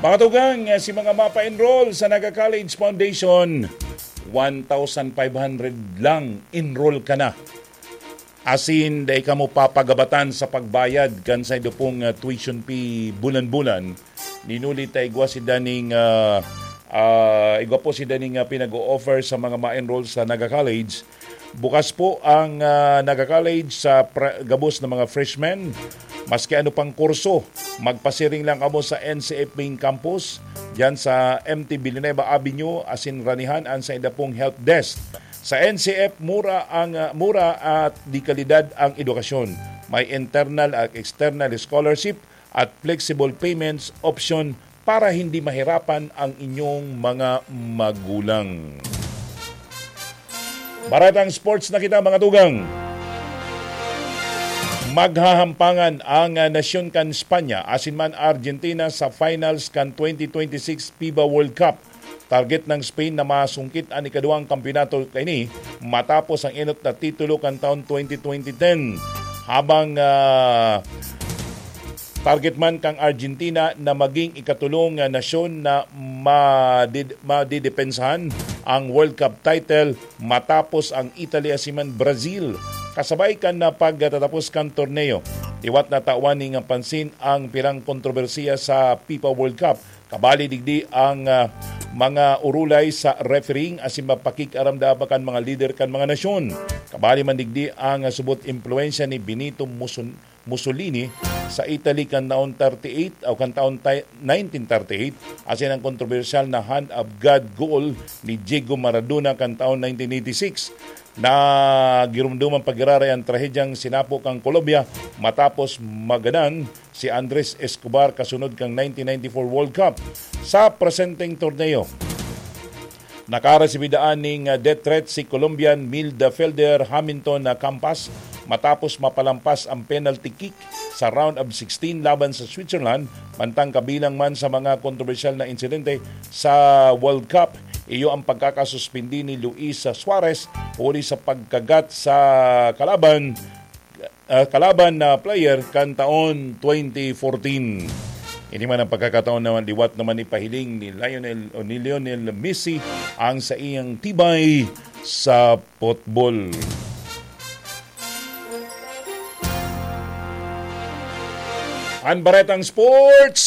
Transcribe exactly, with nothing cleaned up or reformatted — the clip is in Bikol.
Mga tugang, si mga mapa-enroll sa Naga College Foundation, one thousand five hundred lang, enroll ka na. Asin, dai kamo papagabatan sa pagbayad kan saindo pong, ah, tuition fee bulan-bulan. Ninuli ta igwa si daning, ah, ah, igwa po si daning, ah, pinag-o-offer sa mga ma-enroll sa Naga College. Bukas po ang, ah, Naga College sa pra-, gabos na mga freshmen. Maski ano pang kurso, magpasiring lang kamo sa N C F Main Campus, diyan sa M T Villanueva Avenue, asin ranihan an sainda pong help desk. Sa N C F, mura ang, ah, mura at de kalidad ang edukasyon. May internal at external scholarship at flexible payments option para hindi mahirapan ang inyong mga magulang. Baretang sports na kita, mga tugang. Maghahampangan ang, ah, nasyon kan Espanya asin man Argentina sa finals kan twenty twenty-six FIBA World Cup. Target ng Spain na masungkit an ikaduwang kampeonato kaini matapos ang enot na titulo kan taon twenty twenty ten. Habang, ah, target man kang Argentina na maging ikatulong, ah, nasyon na madid-, madidepensahan ang World Cup title matapos ang Italy asin man Brazil. Kasabay kan, ah, pagtatapos kan torneo, liwat na tawan ning pansin ang pirang kontrobersiya sa FIFA World Cup. Kabali digdi ang, ah, mga urulay sa refereeing asin mapakig-aram da pa kan mga lider kan mga nasyon. Kabali man digdi ang, ah, subot impluwensya ni Benito Musun-, Mussolini sa Italy kan taon thirty-eight o kan taon ti-, nineteen thirty-eight, asin ang kontrobersyal na Hand of God goal ni Diego Maradona kan taon nineteen eighty-six. Nagirumduman pag-iraray ang trahedyang sinapo kan Colombia matapos magadan si Andres Escobar kasunod kan nineteen ninety-four World Cup. Sa presenteng torneo, nakaresibi daan ning, ah, death threat si Colombian midfielder Hamilton, ah, Campas matapos mapalampas ang penalty kick sa round of sixteen laban sa Switzerland, mantang kabilang man sa mga kontrobersyal na insidente sa World Cup, iyo ang pagkakasuspindi ni Luis Suarez huli sa pagkagat sa kalaban, ah, kalaban na player kan taon twenty fourteen. Ini man ang pagkakataon na liwat naman ipahiling ni Lionel o ni Lionel Messi ang saiyang tibay sa potbol. An Baretang Sports